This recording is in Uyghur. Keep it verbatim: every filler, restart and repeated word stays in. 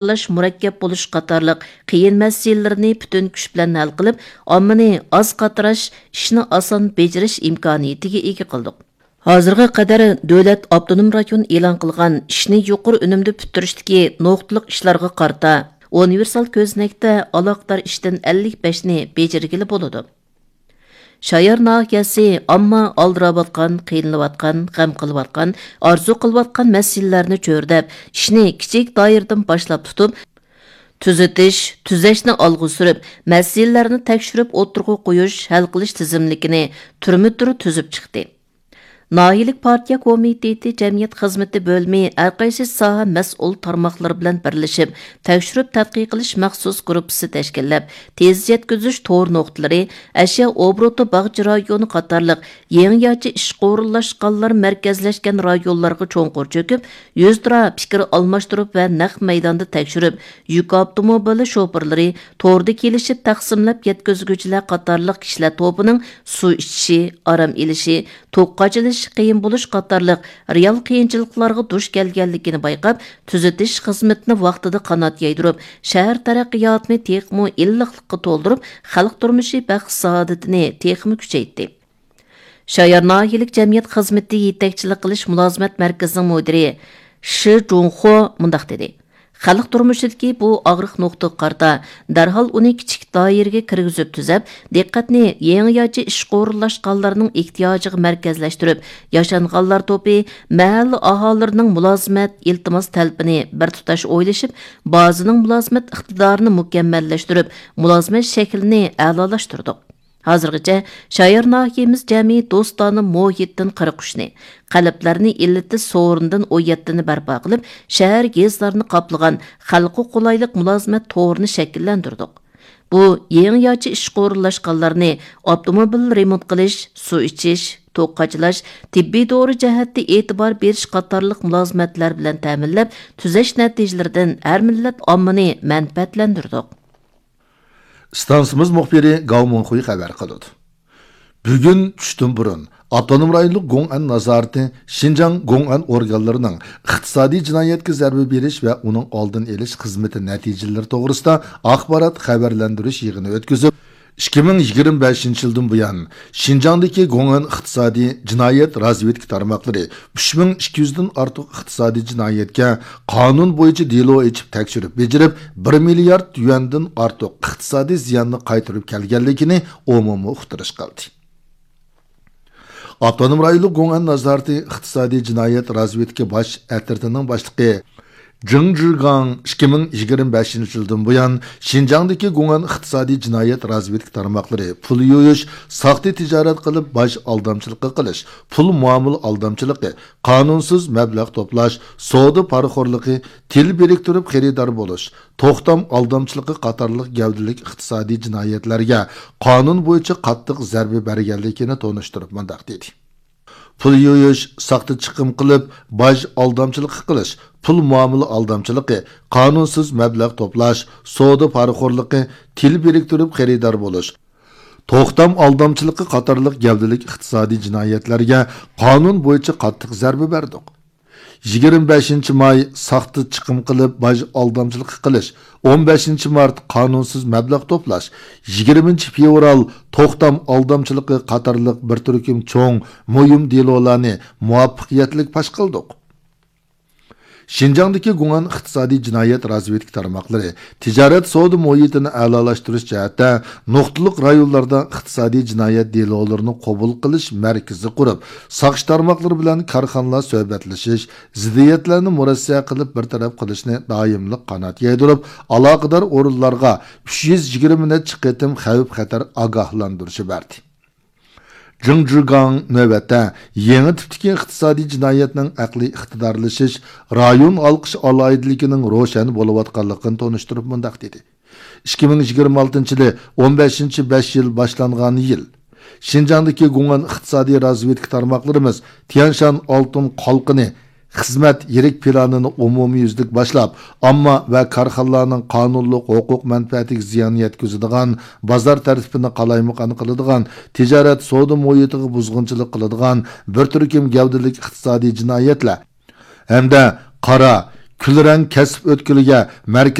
تەشكىللەش مۇرەككەپ بولۇش قاتارلىق قىيىن مەسىلىلىرىنى پۈتۈن كۈچ بىلەن ھەل قىلىپ، ئاممىنى ئاز قاتراش، ئىشنى ئاسان بېجىرىش ئىمكانىيىتىگە ئىگە قىلدۇق. ھازىرغا قەدەر دۆلەت ئاپتونوم رايون ئېلان قىلغان ئىشنى يۇقىرى ئۈنۈمدە پۈتتۈرۈشتىكى نۇقتىلىق ئىشلارغا قارىتا، ئۇنىۋېرسال كۆزنەكتە ئالاقىدار ئىشتىن ئەللىك بەشنى بېجىرگىلى بولىدۇ. شايار ناھىيەسى ئامما ئالدىراۋاتقان، قىينىلىۋاتقان، غەم قىلىۋاتقان، ئارزۇ قىلىۋاتقان مەسىلىلەرنى چۆرىدەپ، ئىشنى كىچىك دائىرىدىن باشلاپ تۇتۇپ، تۈزىتىش، تۈزەشنى ئالغا سۈرۈپ، مەسىلىلەرنى تەكشۈرۈپ ئوتتۇرىغا قويۇش، ھەل قىلىش تىزىملىكىنى تۈرمە تۈر تۈزۈپ چىقتى. ناھىيەلىك پارتىيە كومىتېتى جەمئىيەت خىزمىتى بۆلۈمى ھەرقايسى ساھە مەسئۇل تارماقلىرى بىلەن بىرلىشىپ، تەكشۈرۈپ تەتقىق قىلىش مەخسۇس گۇرۇپپىسى تەشكىللەپ، تېز يەتكۈزۈش تور نۇقتىلىرى، ئەشيا ئوبوروتى باغچە رايونى قاتارلىق يېڭىچە ئىشقا ئورۇنلاشقانلار مەركەزلەشكەن رايونلارغا چوڭقۇر چۆكۈپ، يۈزتۇرا پىكىر ئالماشتۇرۇپ ۋە نەق مەيداندا تەكشۈرۈپ، يۈك ئاپتوموبىلى شوپۇرلىرى، توردا كېلىشىپ تەقسىملەپ يەتكۈزگۈچىلەر قاتارلىق كىشىلەر توپىنىڭ سۇ ئىچىشى، ئارام ئېلىشى، توكقا ئېچىلىشى قىيىن بولۇش قاتارلىق رېئال قىيىنچىلىقلارغا دۇچ كەلگەنلىكىنى بايقاپ، تۈزىتىش خىزمىتىنى ۋاقتىدا قانات يايدۇرۇپ، شەھەر تەرەققىياتىنى تېخىمۇ ئىللىقلىققا تولدۇرۇپ، خەلق تۇرمۇشى بەخت-سائادىتىنى تېخىمۇ كۈچەيتتى. شايار ناھىيەلىك جەمئىيەت خىزمىتى يېتەكچىلىك قىلىش مۇلازىمەت مەركىزىنىڭ مۇدىرى شى جۇڭخۇ مۇنداق دېدى: خەلق تۇرمۇشىدىكى بۇ ئاغرىق نۇقتىغا قارىتا، دەرھال ئۇنى كىچىك دائىرىگە كىرگۈزۈپ تۈزەپ، دىققەتنى يېڭىچە ئىشقا ئورۇنلاشقانلارنىڭ ئېھتىياجىغا مەركەزلەشتۈرۈپ، ياشانغانلار توپى، مەھەللە ئاھالىلىرىنىڭ مۇلازىمەت، ئىلتىماس تەلىپىنى بىر تۇتاش ئويلىشىپ، بازىنىڭ مۇلازىمەت ئىقتىدارىنى مۇكەممەللەشتۈرۈپ، مۇلازىمەت شەكلىنى ئەلالاشتۇردۇق. ھازىرغىچە شايار ناھىيەمىز جەمئىي دوستانە مۇھىتتىن قىرىق ئۈچنى، قەلبلەرنى ئىللىتىش سورۇنىدىن ئون يەتتىنى بەرپا قىلىپ، شەھەر، يېزىلارنى قاپلىغان خەلققە قولايلىق مۇلازىمەت تورىنى شەكىللەندۈردۇق. بۇ يېڭىچە ئىشقا ئورۇنلاشقانلارنى ئاپتوموبىل رېمونت قىلىش، سۇ ئىچىش، توك قاچىلاش، تېببىي دورا جەھەتتە ئېتىبار بېرىش قاتارلىق مۇلازىمەتلەر بىلەن تەمىنلەپ، تۈزەش نەتىجىلىرىدىن ھەر مىللەت ئاممىنى مەنپەئەتلەندۈردۇق. ئىستانسىمىز مۇخبىرى گاۋ مۇنخۇي خەۋەر قىلىدۇ. بۈگۈن چۈشتىن بۇرۇن، ئاپتونوم رايونلۇق گوڭئەن نازارىتى شىنجاڭ گوڭئەن ئورگانلىرىنىڭ ئىقتىسادىي جىنايەتكە زەربە بېرىش ۋە ئۇنىڭ ئالدىنى ئېلىش خىزمىتى نەتىجىلىرى توغرىسىدا ئاخبارات خەۋەرلەندۈرۈش يىغىنى ئۆتكۈزۈپ، ئىككى مىڭ يىگىرمە بەشىنچى يىلدىن بۇيان، شىنجاڭدىكى گوڭئەن ئىقتىسادىي جىنايەت رازۋېدكا تارماقلىرى ئۈچ مىڭ ئىككى يۈزدىن ئارتۇق ئىقتىسادىي جىنايەتكە قانۇن بويىچە دېلو ئېچىپ تەكشۈرۈپ بېجىرىپ، بىر مىليارد يۈەندىن ئارتۇق ئىقتىسادىي زىياننى قايتۇرۇپ كەلگەنلىكىنى ئومۇمىي ئۇقتۇرۇش قىلدى. ئاپتونوم رايونلۇق گوڭئەن نازارىتى ئىقتىسادىي جىنايەت رازۋېدكا باش ئەترىتىنىڭ باشلىقى جېڭ جىگاڭ ئىككى مىڭ يىگىرمە بەشىنچى يىلدىن بۇيان شىنجاڭدىكى گوڭئەن ئىقتىسادىي جىنايەت رازۋېدكا تارماقلىرى پۇل يۇيۇش، ساختا تىجارەت قىلىپ باج ئالدامچىلىقى قىلىش، پۇل مۇئامىلە ئالدامچىلىقى، قانۇنسىز مەبلەغ توپلاش، سودا پارىخورلۇقى، تىل بىرىكتۈرۈپ خېرىدار بولۇش، توختام ئالدامچىلىقى قاتارلىق گەۋدىلىك ئىقتىسادىي جىنايەتلەرگە قانۇن بويىچە قاتتىق زەربە بەرگەنلىكىنى تونۇشتۇرۇپ مۇنداق دېدى. پۇل يۇيۇش، ساختا چىقىم قىلىپ، باج ئالدامچىلىقى قىلىش، پۇل مۇئامىلە ئالدامچىلىقى، قانۇنسىز مەبلەغ توپلاش، سودا پارىخورلۇقى، تىل بىرىكتۈرۈپ خېرىدار بولۇش، توختام ئالدامچىلىقى قاتارلىق گەۋدىلىك ئىقتىسادىي جىنايەتلەرگە قانۇن بويىچە قاتتىق زەربە بەردۇق. يىگىرمە بەشىنچى ماي ساختا چىقىم قىلىپ باج ئالدامچىلىقى قىلىش، ئون بەشىنچى مارت قانۇنسىز مەبلەغ توپلاش، يىگىرمىنچى فېۋرال توختام ئالدامچىلىقى قاتارلىق بىر تۈركۈم چوڭ، مۇھىم دېلولارنى مۇۋەپپەقىيەتلىك پاش قىلدۇق. شىنجاڭدىكى گۇڭئەن ئىقتىسادىي جىنايەت رازۋېدكا تارماقلىرى تىجارەت سودا مۇھىتىنى ئەلالاشتۇرۇش جەھەتتە نۇقتىلىق رايونلاردا ئىقتىسادىي جىنايەت دېلولىرىنى قوبۇل قىلىش مەركىزى قۇرۇپ، ساقچى تارماقلىرى بىلەن كارخانىلار سۆھبەتلىشىش، زىددىيەتلەرنى مۇرەسسە قىلىپ بىر تەرەپ قىلىشنى دائىملىق قانات يايدۇرۇپ، ئالاقىدار ئورۇنلارغا ئۈچ يۈز يىگىرمە نەچچە قېتىم خەۋپ-خەتەر ئاگاھلاندۇرۇشى بەردى. جېڭ جىگاڭ نۆۋەتتە يېڭى تىپتىكى ئىقتىسادىي جىنايەتنىڭ ئەقلىي ئىقتىدارلىشىش، رايون ھالقىش ئالاھىدىلىكىنىڭ روشەن بولۇۋاتقانلىقىنى تونۇشتۇرۇپ مۇنداق دېدى: ئىككى مىڭ يىگىرمە ئالتىنچى يىلى ئون بەشىنچى بەش يىل باشلانغان يىل. شىنجاڭدىكى گۇڭئەن ئىقتىسادىي رازۋېدكا تارماقلىرىمىز تيەنشان ئالتۇن قالقىنى خىزمەت يىرىك پىلانىنى ئومۇميۈزلۈك باشلاپ، ئامما ۋە كارخانىلارنىڭ قانۇنلۇق ھوقۇق مەنپەئەتىگە زىيان يەتكۈزىدىغان، بازار تەرتىپىنى قالايمىقان قىلىدىغان، تىجارەت سودا مۇھىتىغا بۇزغۇنچىلىق قىلىدىغان بىر تۈركۈم گەۋدىلىك ئىقتىسادىي جىنايەتلەر ھەمدە قارا، كۈلرەڭ كەسىپ ئۆتكىلىگە مەركىزىي